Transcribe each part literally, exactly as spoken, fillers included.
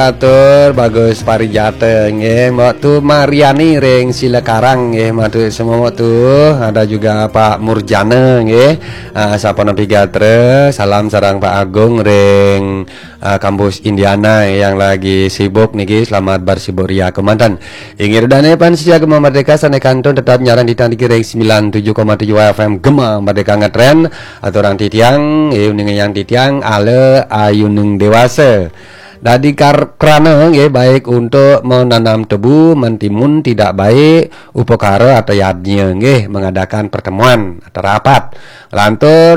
Atur Bagus Parijata nggih, Mbok Tu Mariani ring Silakarang nggih, matur semua Mbok Tu. Ada juga Pak Murjana nggih. Ah, sapunika Gatra, salam sareng Pak Agung ring ah, kampus Indiana yang lagi sibuk niki, selamat bersibuk ria kemanten. Inggih ida dané pamiarsa Gema Merdeka sané kantun tetap nyarengin titiang niki ring sembilan tujuh koma tujuh F M Gema Merdeka ngetren. Aturang titiang, eh, uning yang titiang, ala ayuning dewasa. Dadi kar-, krana nggih, baik untuk menanam tebu, mentimun tidak baik, upakara atau yadnya nggih, mengadakan pertemuan atau rapat. Lantur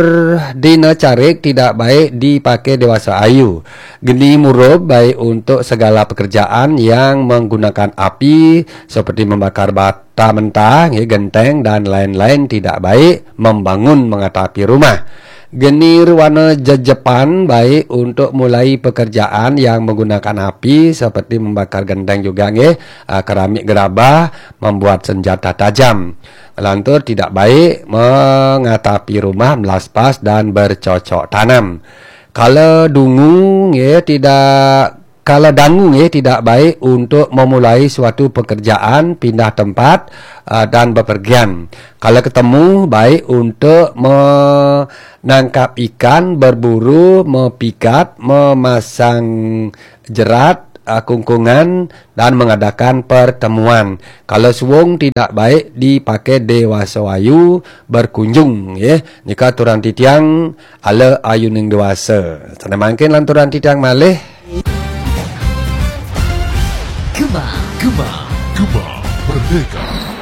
dina carik tidak baik dipakai dewasa ayu. Geni murub baik untuk segala pekerjaan yang menggunakan api seperti membakar bata mentah, nggih, genteng dan lain-lain tidak baik, membangun mengatapi rumah. Geni ruana jejepan baik untuk mulai pekerjaan yang menggunakan api seperti membakar genteng juga nggih, ah, keramik gerabah, membuat senjata tajam. Lantur tidak baik mengatapi rumah, melaspas dan bercocok tanam. Kala dungu nggih tidak kala dangu nggih tidak baik untuk memulai suatu pekerjaan, pindah tempat, ah, dan bepergian. Kala ketemu baik untuk menangkap ikan, berburu, mepikat, memasang jerat, ah, kungkungan dan mengadakan pertemuan. Kala suung tidak baik dipakai dewasa ayu berkunjung nggih. Nika aturang titiang ala ayuning dewasa. Sané mangkin lanturang titiang malih. Gema, Gema, Gema Merdeka.